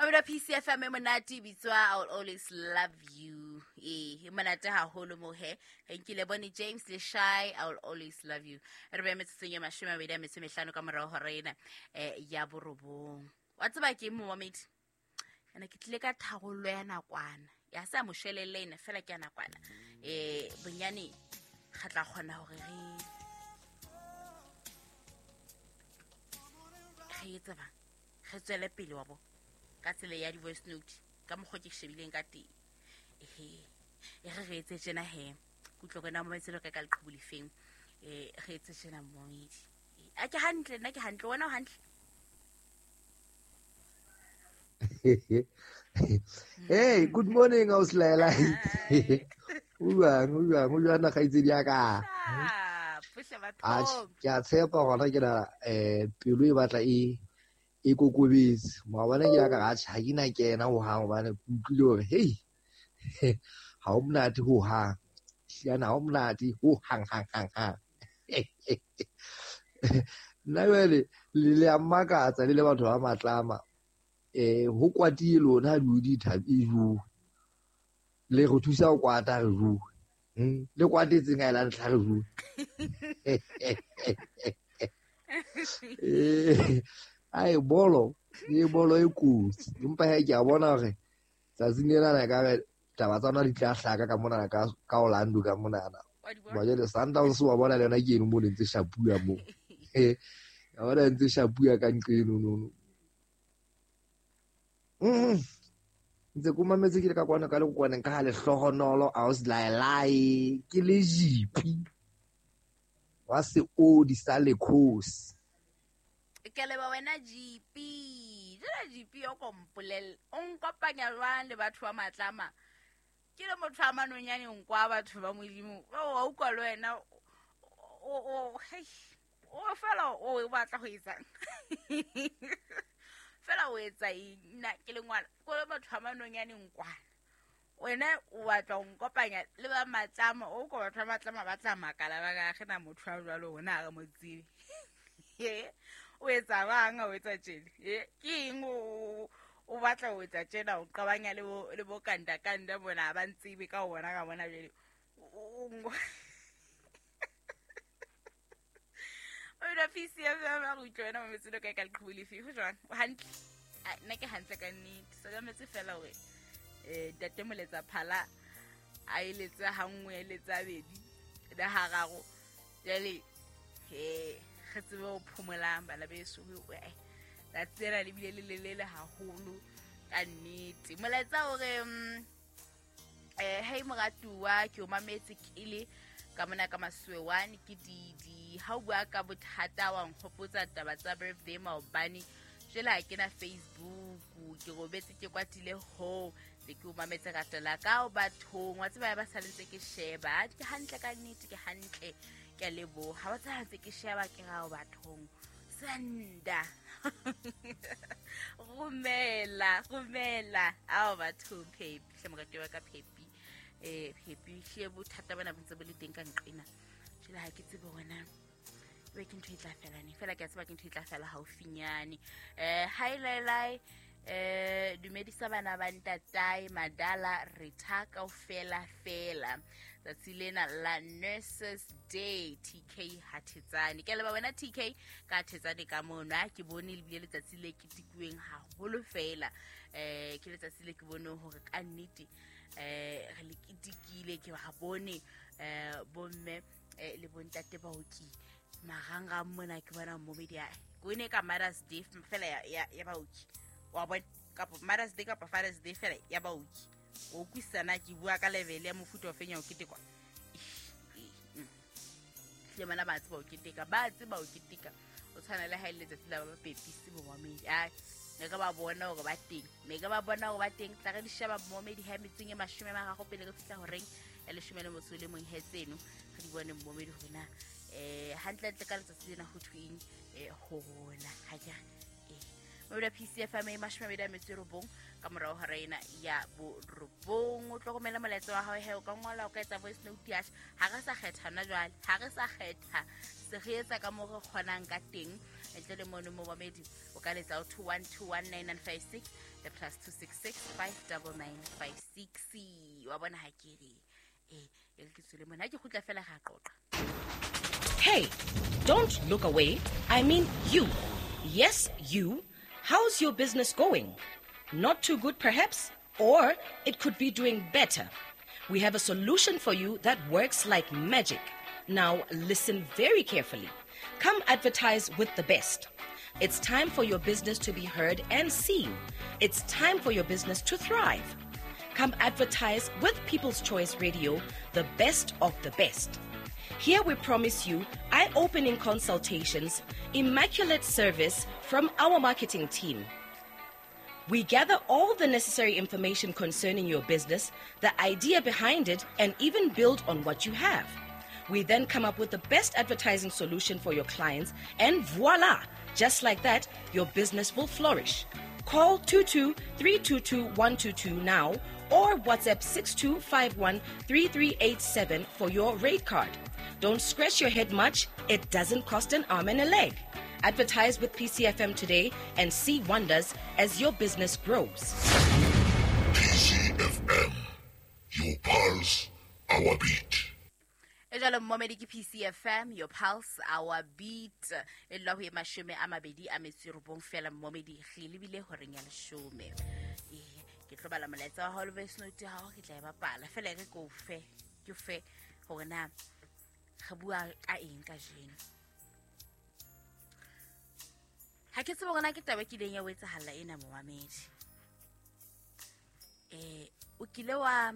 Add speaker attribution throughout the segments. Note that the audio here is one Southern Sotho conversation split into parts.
Speaker 1: Mamelo PCFM e monate e bitswa I will always love you. Ee, e monate haholo mo he. Re nkile bone James le Shy, I will always love you. Re beya metsotsong e 25 ka morao hora ena ya 9. Wa tseba ke momamedi? Ene ke tlile ka tharollo ya nakwana. Ya sa mo shelele ena fela ke ya nakwana. Bonyane re tla kgona hore re etse bang? Re tswele pele wa bo ka tsela ya di-voice note ka mokgwa ke shebileng ka teng. Ehe, e re re etse tjena he. Kutlwa kwena mo metselo ka leqhubu lefeng. Re etse tjena momedi. A ke hantle, nna ke hantle, wena o hantle.
Speaker 2: Hey, good morning, Auslaela. O jwang kgaitsedi ya ka? Ke a tshepa gona ke na pelo e batla e kokobetse. Maobane ke ya ka ga ha ke na kena ho hang hobane ke utlwile hore hey, ha o monate ho hang. Hliyana ha o monate ho hang hang hang hang. Nna jwale le a mmakatsa le le batho ba matlama. Ho kwatile lona ha di thabe jo. Le re thusa ho kwata re jo. Le kwatetseng ha e la ntlha re jo. Ai bolo, e bolo e kotsi. Empa he ke a bona hore tsatsing lena na ka re taba tsa rona di tla hlaka ka mona ka Orlando ka monana. Ba jwale Sundowns wa bona le yona ke eno mo le ntse shapuwa mo. Ya bona ntse shapuwa ka nqe eno no. Ntse ko mametse ke le ka kwana ka le kwaneng ka ha lehlohonolo Auslaelae ke le jipi wa seodi sa lekhosi.
Speaker 1: Ke leba wena GP. Jela GP o kompolel. O nkopanya jwang le batho ba matlama? Ke le motho a manonyane nkwa batho ba Modimo. O utlwa le wena o hey. O fela o batla ho etsang. Fela o etsa eng? Nna ke le ngwana. Ko le batho ba manonyane nkwa. Wena o batla ho nkopanya le ba matlama. O ko batho ba matlama ba tla makala ba ka re na motho wa jwalo ona ha re mo tsebe. O etsa bang, o etsa tjena. Ke eng o batla ho etsa tjena, o qabanya le bo kanda kanda bona ba ntsebe ka ona ka bona jwale. O ila PCFM a go utlwa wena mametse le kae ka leqhubu lefe? Ho jwang? O hantle? Nna ke hantle ka nnete. So ka metse fela hore ntate Moletsa Phala a eletse ha nngwe, a eletse ha bedi le hararo. Jwale he re tsebe ho phomolang bana beso. Tsatsi lena le bile le lelele haholo ka nnete. Molaetsa hore hey moratuwa, ke o mametse ke le ka mona ka Masuwe 1 ke Didi. Ha o bua ka bothata wa nkgopotsa taba tsa birthday maobane. Jwale ha ke na Facebook, ke robetse ke kwatile ho le ke o mametse ratela ka o bathong. Wa tseba ba sa ntse ke sheba. Ke hantle ka nnete, ke hantle. Ke a leboha. Wa tseba ntse ke sheba ke ra o bathong. Senda. Romela, romela. Ao bathong Phepi, hle moratuwa ka Phepi. Phepi hle bothata bona bo ntse bo le teng ka nqena. Jwale ha ke tsebe hore na ebe ke ntho e tla fela neng. Fela ke a tseba ke ntho e tla fela haufinyane. Hi Lailai, dumedisa bana ba ntatae Madala Retha kaofela fela. Tsatsi lena la Nurses Day, TK Hathetsane. Ke a leboha wena TK ka Hathetsane ka mona. Ke bone le bile letsatsi le ketekuweng haholo fela. Ke letsatsi le ke boneng hore ka nnete re le ketekile, ke ba bone bomme le bontate baoki marangrang mona ke bona momedi a ko ne ka Mother's Day fela ya baoki. Wa bona kapa Mother's Day kapa Father's Day fela ya baoki. O utlwisisa ke bua ka level ya mofuta o feng ya ho ketekwa. Le bona ba tseba ho keteka, ba tseba ho keteka. O tshwana le ha e le letsatsi la ba pepisi bo momedi. Ai, ne ka ba bona hore ba teng. Ne ka ba bona hore ba teng. Tla re di sheba momedi ha metseng e 30 pele re fihla horeng ya 11 he tseno. Re di bone momedi hore na hantlentle ka letsatsi lena ho thweng ho rona. Ha ke re. Mobile PCFM e 29 ka morao hora ena ya borobong. O tlo romela molaetsa wa hao he, o ka ngola, o ka etsa voice note ya ha re sa kgetha na jwale, ha re sa kgetha, se re etsa ka moo re kgonang ka teng. Ntle le mono momamedi o ka letsa 21219956 le +266 59956. Wa bona ha ke re e re ke tswele mona, ha ke kgutla fela ga qoqa.
Speaker 3: Hey, don't look away. I mean you. Yes, you. How's your business going? Not too good, perhaps? Or it could be doing better. We have a solution for you that works like magic. Now, listen very carefully. Come advertise with the best. It's time for your business to be heard and seen. It's time for your business to thrive. Come advertise with People's Choice Radio, the best of the best. Here we promise you eye-opening consultations, immaculate service from our marketing team. We gather all the necessary information concerning your business, the idea behind it, and even build on what you have. We then come up with the best advertising solution for your clients, and voila! Just like that, your business will flourish. Call 22-322-122 now or WhatsApp 6251-3387 for your rate card. Don't scratch your head much. It doesn't cost an arm and a leg. Advertise with PCFM today and see wonders as your business grows.
Speaker 4: PCFM, your pulse, our beat.
Speaker 1: E jalo momedi ke PCFM, your pulse, our beat. E lwa ho e 29 fela momedi, re lebile horeng ya 10. Ke tlo bala molaetsa wa hao le voice note ya hao, ke tla e bapala fela re ko fe, ke fe hore na re bua ka eng kajeno. Ha ke tsebe hore na ke taba e kileng ya o etsahalla ena momamedi. O kile wa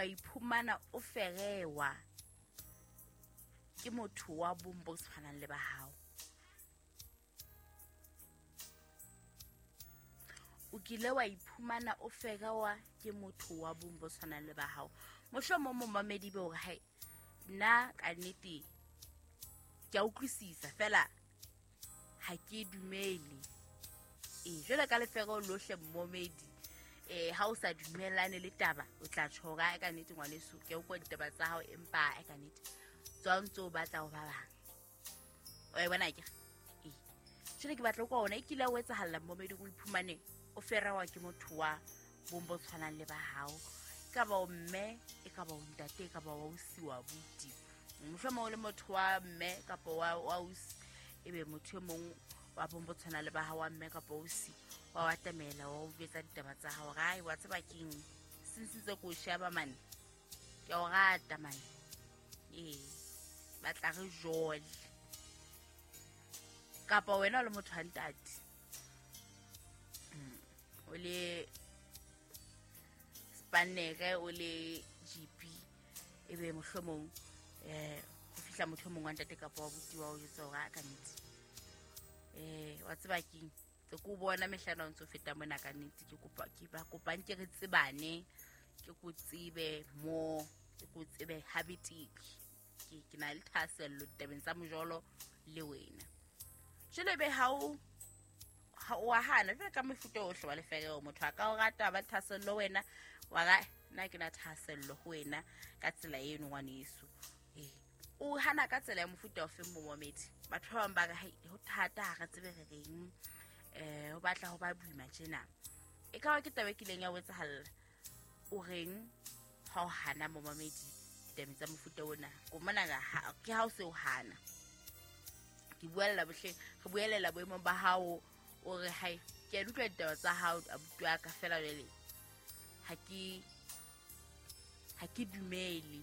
Speaker 1: iphumana o ferewa ke motho wa bong bo tshwanang le ba hao. O kile wa iphumana o ferewa ke motho wa bong bo tshwanang le ba hao. Mohlomong momamedi be hore hai nna ka nnete ke a utlwisisa fela ha ke dumele. Jwale ka lefero lohle momedi, ha o sa dumellane le taba o tla tjhora ka nnete ngwaneso, ke o kwa ditaba tsa hao empa ka nnete tswa ntse o batla ho ba bang. O e bona ke jwale ke batla ho kwa ona e kile o etsahalla momedi o iphumane o ferewa ke motho wa bong bo tshwanang le ba hao. E ka ba o mme, e ka ba o ntate, e ka ba wa ausi, wa abuti. Mohlomong o le motho wa mme kapa wa ausi, ebe motho e mong wa bong bo tshwanang le ba hao wa mme kapa ausi wa atamela wa o betsa ditaba tsa hao. Ai wa tseba keng, since tse ko sheba mane ke o rata mane, batla re jole. Kapa wena o le motho wa ntate, o le spanere, o le GP, ebe mohlomong ho fihla motho mongwe wa ntate kapa wa buti wa o jwetsa hore a ka nnete wa tseba keng, tse ko bona mehlano o ntso feta mona ka nnete, ke kopa ke ba kopang ke re tsebane, ke ko tsebe mo, ke ko tsebe habitiki, ke na le thahasello ditabeng tsa mojolo le wena. Jwale be ha o wa hana jwale ka mefuta ohle wa lefereo, motho a ka o rata ba thahasello wena, wa ra nna ke na thahasello ho wena ka tsela eno ngwaneso. O hana ka tsela ya mofuta ofe momamedi? Batho ba bang ba re hai ho thata, ha re tsebe re reng, ho batla ho ba boima tjena. E ka ba ke taba e kileng ya o etsahalla, o reng ha o hana momamedi ditabeng tsa mofuta ona? Ko mona ke ha o se o hana, ke buella bohle, re buelela boemong ba hao, o re hai ke a utlwa ditaba tsa hao abuti wa ka fela jwale ha ke dumele.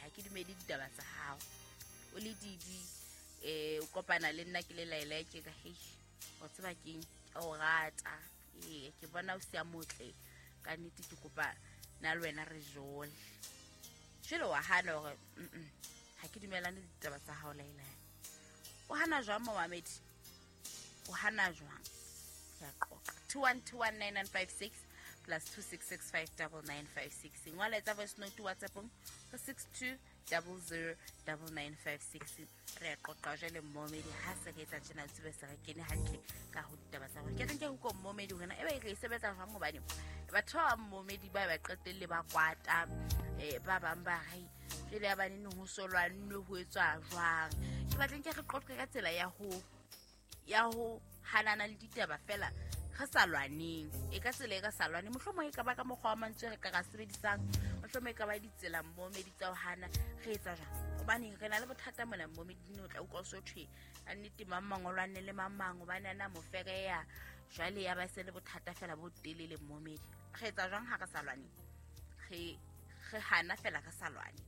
Speaker 1: Ha ke dumele ditaba tsa hao. O le didi, o kopana le nna ke le laela ke ka hei o tseba keng, ke o rata, ke bona o sia motle ka nnete, ke kopa nna le wena re jole. Jwale wa hana hore ha ke dumellane le ditaba tsa hao laela. O hana jwang momamedi? O hana jwang? Ke a qoqa. 21219956 plus 266599956. Ngola etsa voice note WhatsApp-ong ho 62 00 9956. Re a qoqa jwale mmomedi, ha se re etsa tjena tsebe se re kene hantle ka ho ditaba tsa rona. Ke reng ke utlwa mmomedi hore na ebe re e sebetsa jwang, hobane batho ba bang mmomedi ba ba qetelle ba kwata, ba bang ba re jwale ya banene ho so lwannwe ho etswa jwang. Ke batleng ke re qoqe ka tsela ya ho hanana le ditaba fela re sa lwaneng, e ka tsela e ka sa lwane, mohlomong e ka ba ka mokgwa wa mantswe re ka ra sebedisang, mohlomong e ka ba ditsela mmomedi tsa ho hana re etsa jwang, hobane re na le bothata mona mmomedi o tla utlwa o so thwe a nnete mang mang o lwanne le mang mang hobane ana mo fereya, jwale ya ba se le bothata fela bo telele mmomedi. Re etsa jwang ha re sa lwane, re hana fela re sa lwane.